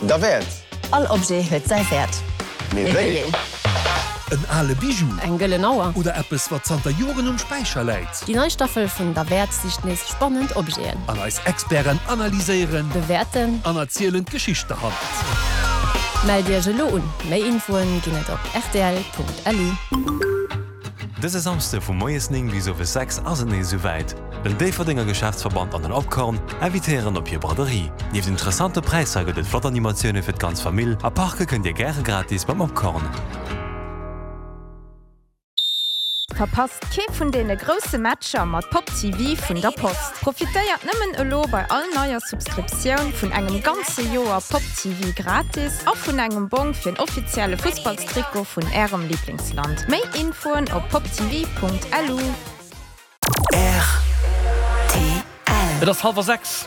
Derwäert! All Objet huet säi Wäert. Mee wéi een? En ale Bijou. Eng gëllen Auer. Oder eppes, wat zanter Joren um Späicher läit. Déi nei Staffel vun Derwäert sicht nees spannend Objeten. An eis Experten analyséieren. Bewäerten. An erzielen d'Geschicht derhannert. Mellt Iech elo un! Méi Infoen ginn et op rtl.lu. Dëse Samsde vu moies 9 bis owes 6 ass et nees esou wäit. Den Déifferdenger Geschäftsverband an den Opkorn invitéieren op hir Braderie. Nieft interessante Präisser gëtt et flott Animatioune fir d'ganz Famill a parke kënnt dir gäre gratis beim Opkorn. Verpasst kee vun deene grousse Matcher mat Pop TV vun der Post. Profitéiert nëmmen elo bei all neier Subscriptioun vun engem ganze Joer Pop TV gratis a vun engem Bong fir en offizielle Fussballstrikot vun ärem Liblingsland. Méi Infoen op poptv.lu. Rtl. Et ass hallwer 6.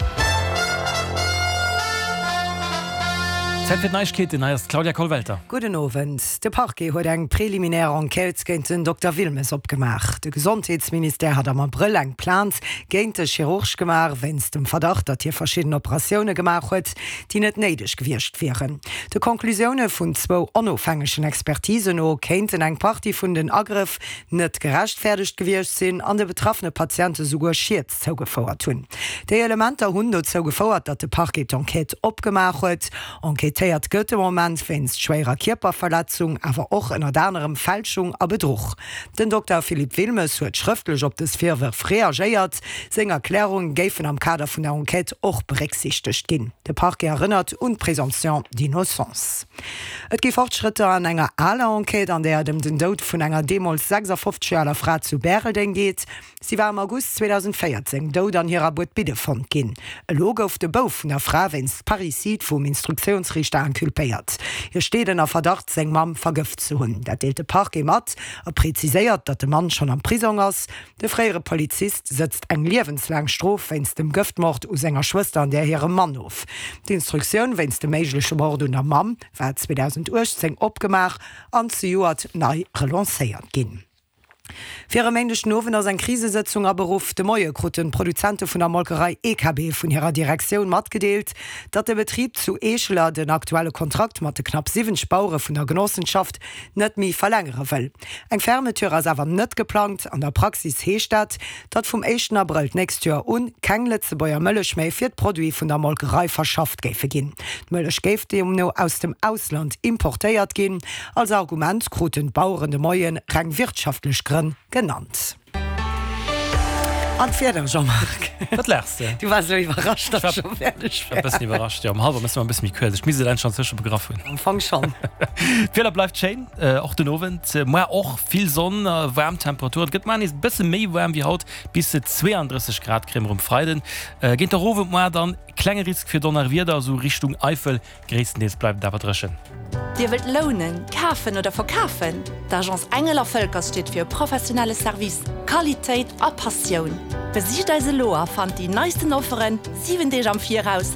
Zäit fir d'Neiegkeeten, hei ass d'Claudia Kollwelter. Gudden Owend. De Parquet huet eng preliminär Enquête géint den Dokter Wilmes opgemaach. De Gesondheetsministère hat am Abrëll eng Plainte géint de Chirurg gemaach, wéinst dem Verdacht, datt hie verschidden Operatioune gemaach huet, déi net néideg gewiescht wieren. De Conclusioune vun zwou onofhängegen Expertisen no kéinten eng Partie vun den Agrëff net gerechtfäerdegt gewiescht sinn an de betraffene Patiente souguer Schied zougefouert hunn. Déi Elementer hunn dozou gefouert, datt de Parquet d'Enquête opgemaach huet. Enquêtéiert gëtt de Moment wéinst schwéierer Kierperverletzung, awer och ënnert anerem Fälschung a Bedruch. Den Dokter Philippe Wilmes huet schrëftlech op dës Virwërf reagéiert. Seng Erklärunge géifen am Kader vun der Enquête och berécksiichtegt ginn. De Parquet erënnert un d'Présomption d'innocence. Et gi Fortschrëtter an enger aler Enquête, an där et ëm den Doud vun enger deemools 56 Joer aler Fra zu Bäreldeng geet. Si war am August 2014 dout an hirer Buedbidde fonnt ginn. Elo gouf de Bouf vun der Fra wéinst Parricide vum Instruktiounsriichter inculpéiert. Hie steet ënner Verdacht, seng Mamm vergëft ze hunn. Dat deelt de Parquet mat a preziséiert, datt de Mann schonn am Prisong ass. De fréiere Polizist sëtzt eng liewenslaang Strof wéinst dem Gëftmord u senger Schwëster an där hirem Mann of. D'Instruktioun wéinst dem méigleche Mord un der Mamm war 2018 opgemaach an zejoert nei relancéiert ginn. Fir e Méindeg den Owend ass eng Krisesëtzung aberuff. De Moie kruten d'Produzente vun der Molkerei EKB vun hirer Direktioun matgedeelt, datt de Betrib zu Eescheler den aktuelle Kontrakt mat de knapp 70 Bauere vun der Genossenschaft net méi verlängere wëll. Eng Fermeture ass awer net geplangt. An der Praxis heescht dat, datt vum éischten Abrëll d'nächst Joer un keng Lëtzebuerger Mëllech méi fir d'Produite vun der Molkerei verschafft géife ginn. D'Mëllech géif deemno aus dem Ausland importéiert ginn. Als Argument kruten d'Baueren de Moie reng wirtschaftlech Grënn genannt. An d'Wieder, Jean-Marc? Wat laachs de? Du waars elo iwwerrascht, datt ech scho fäerdeg war. E bëssen iwwerrascht, jo. Um hallwer mësse mer e bësse méi kuerz. Ech misst et endlech schonn begraff hunn. Am Fong schonn. D'Wieder bleift schéin, och den Owend. Muar och vill Sonn a waarm Temperaturen. Et gëtt muar nees e bësse méi waarm wéi haut, bis 32 Grad kréie mer um Freiden. Géint der Owend muar dann klenge Risk fir Donnerwieder, esou Richtung Eifel. Gréisstendeels bleift et awer dréchen. Dir wëllt lounen, kafen oder verkafen? D'Agence Engel a Völkers steet fir e professionelle Service, Qualitéit a Passioun. Besicht eis elo a fannt déi neisten Offeren 7 Deeg am Viraus.